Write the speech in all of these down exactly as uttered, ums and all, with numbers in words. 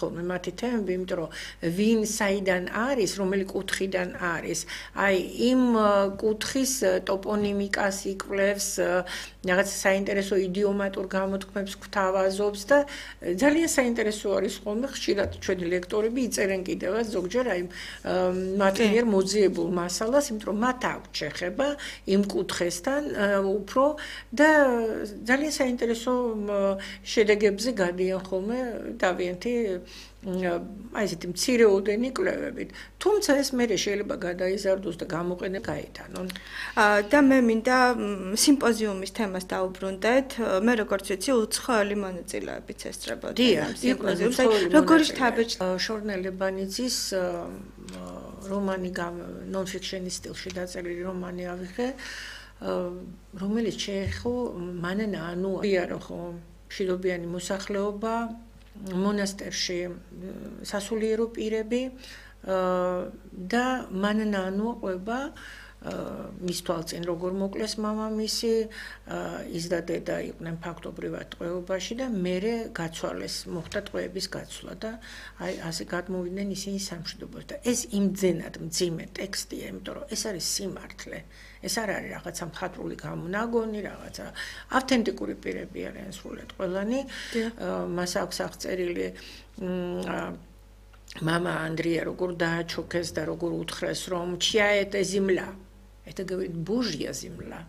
ხოლმე მათი თემები, იმიტომ რომ ვინ საიდან არის, რომელი კუთხიდან არის. აი, იმ კუთხის ტოპონიმიკას იკვლევს, რაღაც საინტერესო idiomatur გამოთქმებს გვთავაზობს და ძალიან საინტერესო არის ხოლმე ხშირად ჩვენი ლექტორები იწერენ კიდევაც ზოგჯერ აი მათ მიერ მოძიებულ მასალას, იმიტომ რომ მათ აქვთ შეხება იმ კუთხესთან უფრო და ძალიან საინტერესო შედეგებზე გადიან ხოლმე დავიანთი აი ესეთი მცირეოდენი კვლევებით. თუმცა ეს მე შეიძლება გადაიზარდოს და გამოყენება გაიტანონ. და მე მინდა სიმპოზიუმის თემას დავუბრუნდეთ. მე როგორც ვიცი, უცხოელი მონაწილეებიც ესწრებოდნენ ამ სიმპოზიუმს. როგორი შთაბეჭდი შორნე ლებანიძის რომანი ნონ-ფიქშენის სტილში დაწერილი რომანი ავიღე, რომელიც შეეხო მანენა ანუ იარო ხო მშვიდობიანი მოსახლეობა მონასტერში სასულიერო პირები და მანენა ანუყვება მის თვალწინ როგორ მოკლეს მამამისი, ის და დედა იყვნენ ფაქტობრივად ტყვეობაში და მერე გაცვალეს, მოხდა ტყვეების გაცვლა და აი ასე გადმოვიდნენ ისინი სამშვიდობოში და ეს იმძენად მძიმე ტექსტია, იმიტომ რომ ეს არის სიმართლე. ეს არ არის რაღაცა მხატვრული გამონაგონი, რაღაცა ავთენტიკური პირები არიან სრულად ყველანი. მას აქვს აღწერილი мама Андрея როგორ დააჩოქეს და როგორ უთხრეს რომ чья это земля? Это говорит Божья земля.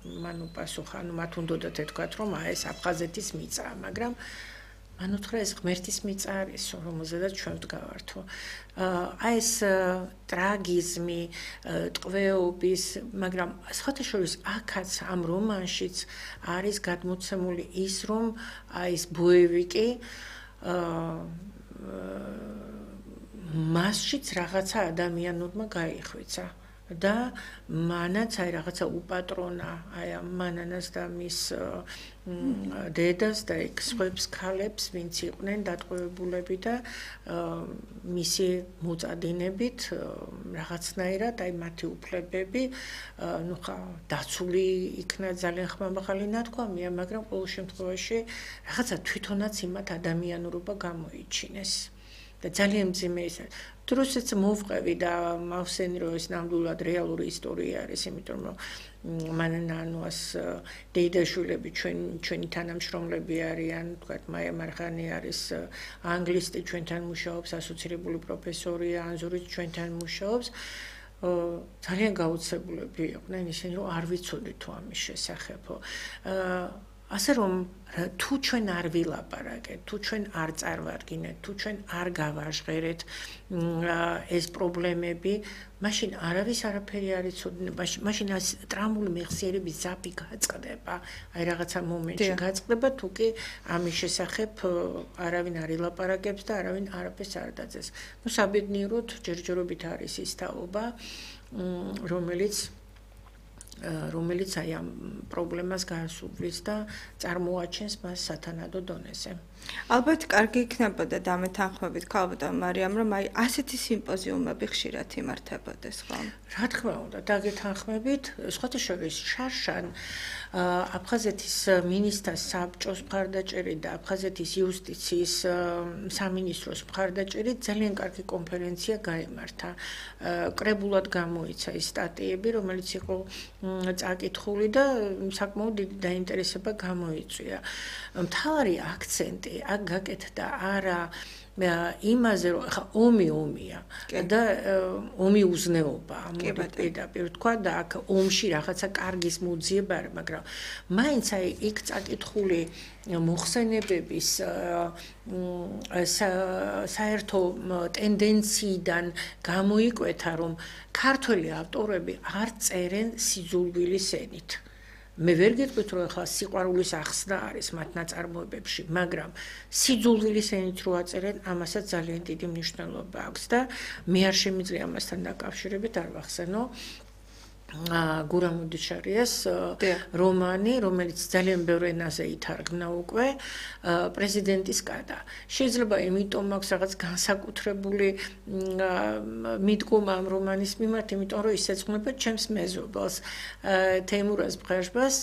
მან უპასუხა, ну მათ უნდათ ეთქვათ რომ აი ეს აფხაზეთის მიწაა, მაგრამ მან უთხრა ეს ღმერთის მიწა არის, რომელზედაც ჩვენ ვდგავართო. აი ეს ტრაგიზმი, ტყვეობის, მაგრამ სხვათა შორის აქაც ამ რომანშიც არის გადმოცემული ის რომ აი ეს ბოევიკი მასშიც რაღაცა ადამიანურმა გაიხვიცა და მანაც აი რაღაცა უპატრონა აი ამ მანანას და მის დედას და იქ სხვებს ქალებს ვინც იყვნენ დატყვევებულები და მისი მოწადინებით რაღაცნაირად აი მათი უფლებები ну ხა დაცული იქნა ძალიან ხმამაღალი ნათქვამია მაგრამ ყოველ შემთხვევაში რაღაცა თვითონაც იმათ ადამიანურობა გამოიჩინეს და ძალიან მძიმე ის დროსაც მოვყევი და მავსენი რომ ეს ნამდვილად რეალური ისტორია არის იმიტომ რომ მანანანუას დედაშვილები ჩვენ ჩვენი თანამშრომლები არიან თქვათ მაია მარხანი არის ანგლისტი ჩვენთან მუშაობს ასოცირებული პროფესორია ანზურიც ჩვენთან მუშაობს ძალიან გაუცებულები იყვნენ ისინი რომ არ ვიცოდი თუ ამის შესახებო ასე რომ თუ ჩვენ არ ვილაპარაკეთ, თუ ჩვენ არ წარმოვადგინეთ, თუ ჩვენ არ გავაჟღერეთ ეს პრობლემები, მაშინ არავის არაფერი არ იცოდება, მაშინ ტრამული მეხსიერების ზაფი გაწყდება, აი რაღაცა მომენტში გაწყდება, თუ კი ამის შესახებ არავინ არ ილაპარაკებს და არავინ არაფერს არ დაძეს. ნუ საბედნიეროდ ჯერჯერობით არის ის თაობა, რომელიც რომელიც აი ამ პრობლემას განსუბლის და წარმოაჩენს მას სათანადო დონეზე. ალბათ კარგი იქნებოდა დამეთანხმებით ქალბატონ მარიამ რომ აი ასეთი სიმპოზიუმები ხშირად იმართებოდეს ხო? რა თქმა უნდა, დაგეთანხმებით, სხვათა შორის შარშან აფხაზეთის მინისტრთა საბჭოს მხარდაჭერი და აფხაზეთის იუსტიციის სამინისტროს მხარდაჭერი ძალიან კარგი კონფერენცია გაიმართა. კრებულად გამოიცა ის სტატიები, რომელიც იყო წაკითხული და საკმაოდ დიდი დაინტერესება გამოიწვია. მთავარი აქცენტი აქ გაკეთდა არა იმაზე რომ ხა ომი ომია და ომი უზნეობა პირდაპირ თქვა და აქ ომში რაღაცა კარგის მოძიება არა მაგრამ მაინც აი იქ წაკითხული მოხსენებების საერთო ტენდენციიდან გამოიკვეთა რომ ქართველი ავტორები არ წერენ სიძულვილის ენით მე ვერ გეტყვით რომ ახლა სიყვარულის ახსნა არის მათ ნაწარმოებებში, მაგრამ სიძულვილის ენით რო აწერენ, ამასაც ძალიან დიდი მნიშვნელობა აქვს და მე არ შემიძლია ამასთან დაკავშირებით არ ვახსენო გურამუდიშარიას რომანი, რომელიც ძალიან ბევრ ენაზე ითარგმნა უკვე პრეზიდენტის კადა. შეიძლება იმიტომ აქვს რაღაც განსაკუთრებული მიდგომა ამ რომანის მიმართ, იმიტომ რომ ის ეძღვნება ჩემს მეზობელს თეიმურაზ ბღაჟბას,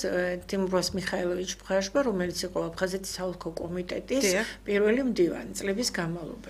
თეიმურაზ მიხაილოვიჩ ბღაჟბა, რომელიც იყო აფხაზეთის საოლქო კომიტეტის პირველი მდივანი წლების განმავლობაში.